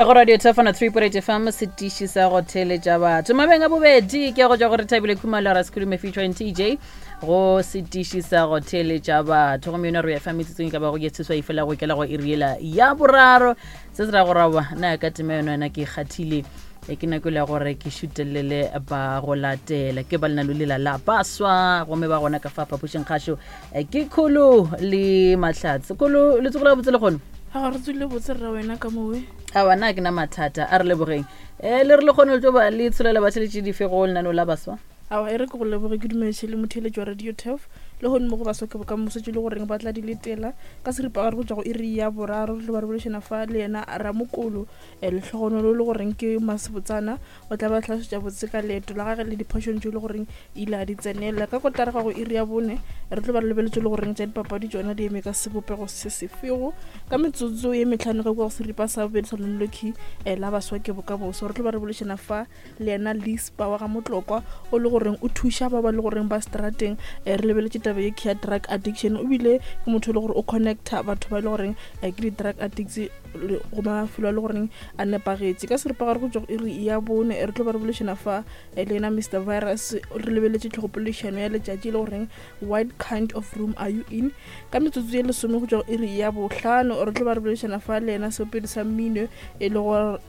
Go Radio Tefana 3.8 FM setiši sa go theeletša batho. Mabeng a bobedi ke go tšwa go re Thabile Khumalo ra Sekhulume featuring TJ go setiši sa go theeletša batho. Gomme yona re ya fa metsotsong e ka bago ke tsheswa e fela go ikela go iri yela ya boraro. Se se ra go rawa na ka tema yona yona ke kgathile e ke nako ya gore ke šutelele ba go latela ke ba lenalo lela la baswa gomme ba gona ka fa phapošeng kgašo Eh, ke kholo le mahlatse kholo le tsogola botse le kgono a ga re tswile botse rra wena ka mowe a wana ke na mathata a re lebogeng um le re le kgone le tlo ba le tsholela batheletše dife go lenaneo la baswa awa e re ke go leboge ke dumediše le motheeletši wa radio tef le gone mo go baswa ke bokamoso tše le goreng ba tla di letela ka seripagare go tšwa go iri ya boraro re tlo ba re bolešana fa le yena ramokolo um lehlogonolo le goreng ke masebotsana O tla ba hlalosetša botse ka leeto la gage le diphošong tšeo e le goreng ile a di tsenela. Ka kotara ga go iri ya bone re tlo ba re lebeletše le goreng tša dipapadi tšona di eme ka sebopego se sefego. Ka metsotso ye mehlano ka kua go seripa sa bobedi sa Lolokhi eh, la baswa ke bokamoso re tlo ba re bolešana fa le yena Lispa wa ga Motlokwa o le goreng o thuša ba ba le goreng ba strateng eh, re lebeletše taba ye ya drug addiction o bile ke motho e le gore o connecta batho ba e le goreng eh, ke di-drug addicts go mafelo a le goreng a nepagetše ka seripagare go tšwa go iri ya bone re tlo ba re bolešana fa eh, le yena mr virus re lebeletše tlhogopoledišano ya letšatši e le goreng what kind of room are you in ka metsotso ye lesome go tšwa go iri ya bohlano re tlo ba re bolešana fa le yena seopedi sa mmino e le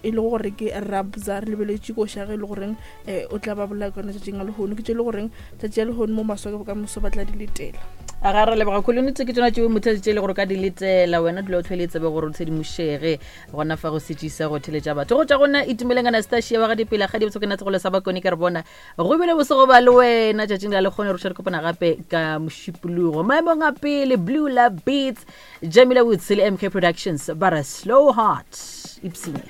e gore ke rabza re lebeletše koša ge e le goreng um o tla ba bolaya ka yona tšatšing a lehono ke tše e le goreng tšatši ya lehono mo maswa ke bokamoso ba tla di letela a ga re leboga kholonitse ke tsona tšeo motho tše e le gore ka di letela wena dula o tlhwele tsebe gore o tshedimošege gona fa go setšisa go theletša batho go tša gona itumeleng anastasia wa ga dipela ga di botse ke nna tsegolo sa bakone ke re bona go bile bosego ba le wena tšatšing la lekgone re re kopana gape ka mošupologo maemong a pele blue la beats jamila woods le mk productions ba re slow heart ipsene.